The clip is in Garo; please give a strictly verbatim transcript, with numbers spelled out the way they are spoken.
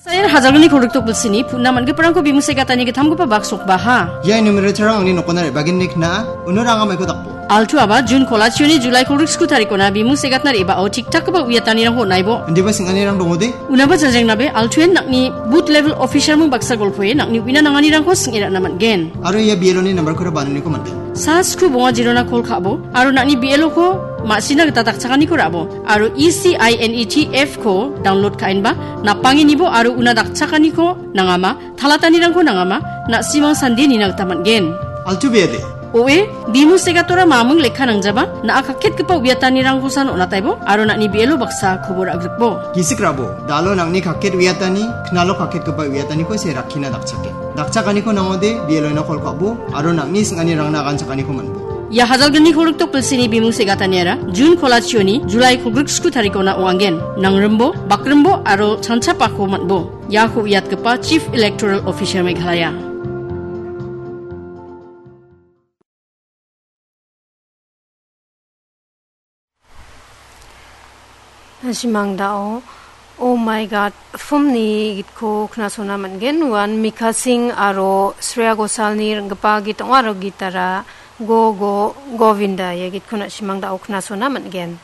Sair hajalgni kolgrikdok bilsini putna man·giparangko bimu segatani gittamgipa bak sokbaha. Ia enumerator-rang angni nokona re·bagenni kna·a, uno ranga maiko dakbo. Altu aba Jun kolachioni Julai kolgriksku tarikona bimu segatna re·bao tik-takgipa uiatanirangko on·aibo. Indiba sing·anirang dongode? Unaba jajengnabe, Altuen nang·ni booth level officer-ming baksa golpoe nang·ni uina nanganirangko sing·e ra·na man·gen. Aro ia B L O-ni nambarkora bananiko man·gen. Sa sku bonga jirona kol ka·bo, aro nang·ni B L O-ko ma·sina gita dakchakaniko ra·bo, aro E C I N E T F-ko download ka·enba, napange nibo aro una dakchakaniko nangama, talatanirangko nangama, na·simang sande nina gita man·gen. Altu bede. Oe, bimu segatora mamung lekka nangjaba, na·a kaketgipa uiatanirangkosan on·ataibo, aro nang·ni B L O baksa kobor agrikbo. Gisik rabo, dalo nang·ni kaket uiatani, knalo kaketgipa uiataniko se rakkina dakchake. Dakchakaniko nangode, B L O-ina kol ka·bo, aro nang·ni sing·anirangna aganchakaniko man·bo. Ia hajalgni kolgrikdok bilsini bimu segataniara, Jun kolachioni, Julai kolgriksku tarikona ong·angen. Nangrimbo, bakrimbo, aro chanchapako man·bo. Iako uiatgipa Chief Electoral Officer Meghalaya. Nasimang dao, Oh My God, filmni gitko knasona man·gen, uan Mikha Singh aro Shreya Ghoshal-ni ring·gipa git ong·a aro gitara Go Go Govinda ia gitko nasimang dao knasona man·gen.